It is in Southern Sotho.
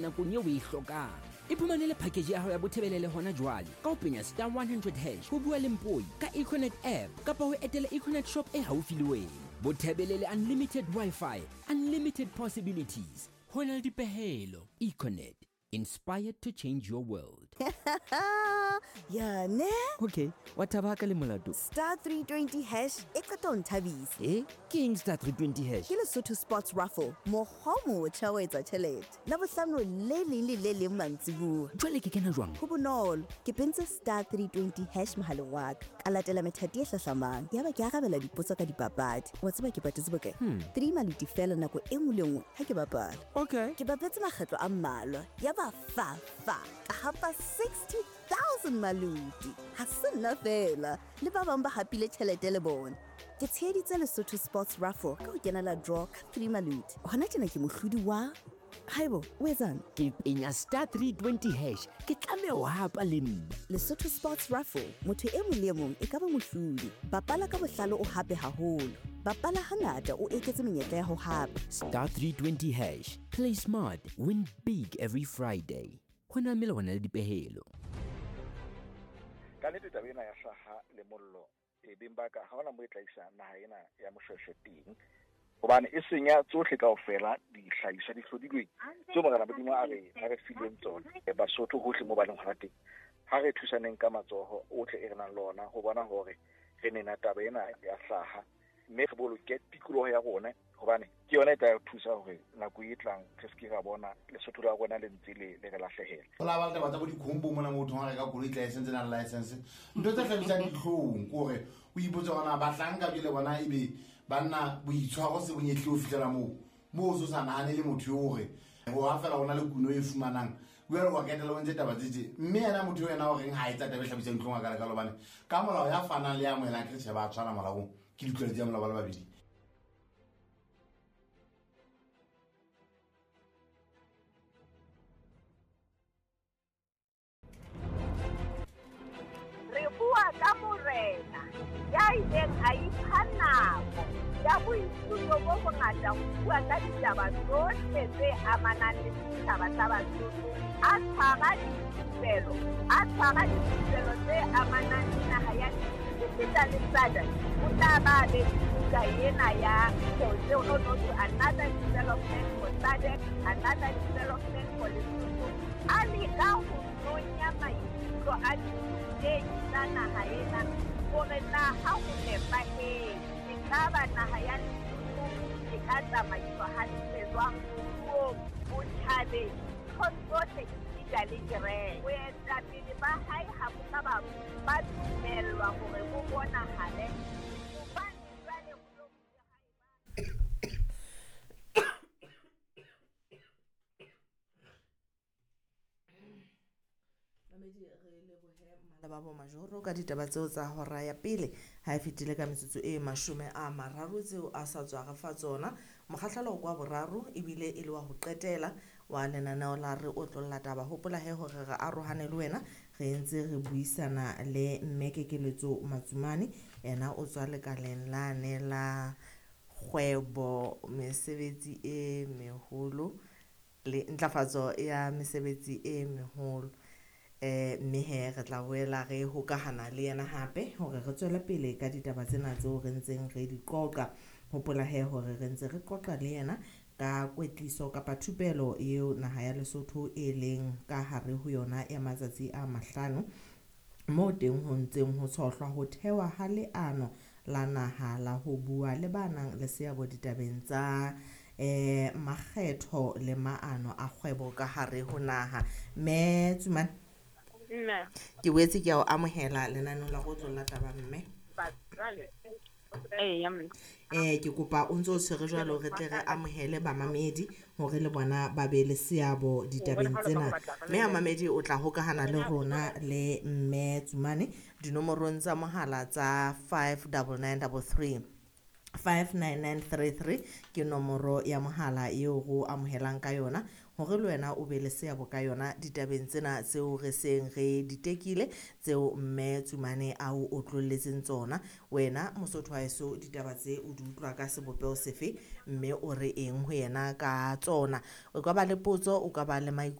Nakong eo o e hlokang. Iphumanele package ya hao ya Bothebelele hona jwale ka ho penya star 100 hash ho bua le Mpoi ka Econet app kapa ho etela Econet shop e haufi le wena. Bothebelele unlimited Wi-Fi, unlimited possibilities. Ho na le dipehelo. Econet, inspired to change your world. Ya ne? Okay, wa thaba ka le molato. Star 320 hash e qeta ho nthabisa. Eh? Ke eng star 320 hash? Ke Lesotho Sports Raffle, mokgwa o motjha wa etsa tjhelete. Labohlano le leng le le leng mantsibuya. Jwale ke kena jwang? Ho bonolo, ke pentse star 320 hash mohaleng wa ka. Ka latela methati e hlahlamang. Yaba ke arabela dipotso ka dipapadi. Wa tseba ke patetse bokae? 3 maluti fela nako e nngwe le nngwe ha ke bapala. Okay. Ke bapetse makgetlo a mmalwa. Yaba fa fa ka hapa 60,000 maluti. Ha se nna fela, le ba bang ba hapile tjhelete le bona. Ke tsheheditse Lesotho Sports Raffle ka ho kenela draw ka 3 maluti. Hona tjena ke mohlodi wa Haibo, o etsang? Ke penya star 320 hash. Ke tlameha ho hapa le nna. Lesotho Sports Raffle, motho e mong le e mong e ka ba mohlodi. Bapala ka bohlale o hape haholo. Bapala hangata o eketse menyetla ya ho hapa. Star 320 hash. Play smart, win big every Friday. Ho na melawana le dipehelo. Ka nnete taba ena ya hlaha le mollo e beng ba ka ha hona mo e tla isa naha ena ya Moshweshwe teng, hobane e senya tsohle kaofela dihlahiswa di hlodilweng tseo Morena Modimo a re fileng tsona. Basotho hohle mo ba leng hona teng, ha re thusaneng ka matsoho ohle e re nang le ona ho bona hore re nena taba ena ya hlaha, mme re boloke tikoloho ya rona, hobane ke yona e tla re thusa hore nako e tlang re se ke ra bona Lesotho la rona le ntse le re lahlehela. Ho la ba le taba tsa bo dikhombo mona moo thong reka koloi tla e sentse nang license. Ntho tse hlabisang dihlong ke hore o ipotse hore na bahlanka jwale bona ebe banna boitshwaro se bonyehle ho fihlela moo. Moo o so sa nahane le motho eo hore ho ha fela hona le kuno e fumanang. Jwale wa ketela o ntse taba tse tje. Mme yena motho eo yena o reng ha etsa taba e hlabisang dihlong a ka leka hobane ka molao ya fanang le ya amohelang ke tjhe ba tshwana molaong. Ke ditlwaelo tsa molao ba le babedi. Re bua ka morena ya ileng a ipha nako ya boithuto bo bongata ho bua ka ditaba tsohle tse amanang le setjhaba sa Basotho. A tshwara dithupelo, a tshwara dithupelo tse amanang le naha ya esita le SADC. O tla ba be le buka ena ya another development for SADC, another development for Lesotho. A leka ho nonya maikutlo a dithutehi tsa naha ena hore na ha ho nepahetse, ekaba naha ya Lesotho e ka tsamaiswa hantle jwang moruong, botjhabeng, nthong tsohle esita le kereke. Boetapele ba hae ha bo ka ba dumellwa hore bo bonahale hobane jwale ho lo bile ha eba. Mamedi, re lebohe Malebabo Majoro ka ditaba tseo tsa hora ya pele ha e fetile ka metsotso e 30 tseo a sa tswa re fa tsona. Mokgahlelo kwa boraro ebile e le wa ho qetela wa lenaneo la re otlolla taba. Hopola he hore re arohane le wena, re ntse re buisana le mme Kekeletso Matsumane, yena o tswa lekaleng lane la kgwebo, mesebetsi e meholo le ntlafatso ya mesebetsi e meholo. Mme he re tla boela re hokahana le yena hape hore re tswele pele ka ditaba tsena tseo re ntseng re di qoqa. Hopola he hore re ntse re qoqa le yena ka kwetliso kapa thupelo eo naha ya Lesotho e leng ka hare ho yona ya matsatsi a 5, moo teng ho ntseng ho tshohlwa ho thewa ha leano la naha la ho bua le ba nang le seabo ditabeng tsa makgetho le maano a kgwebo ka hare ho naha. Mme Tsumane, Mme. Ke boetse ke a o amohela lenaneo la go tlolla taba mme. Ke kopa o ntse o tshwere jwalo re tle re amohele bamamedi hore le bona ba be le seabo ditabeng tsena. Mme mamedi o tla hokahana le rona le mme Tsumane dinomorong tsa mohala tsa 59933. 59933 ke nomoro ya mohala eo go amohelang ka yona Hore le wena o be le seabo ka yona ditabeng tsena tseo re seng re di tekile, tseo mme Tsumane a o otlolletseng tsona. Wena Mosotho wa heso, ditaba tse o di utlwa ka sebopeho sefe, mme o re eng ho yena ka tsona? O ka ba le potso, o ka ba le maikutlo.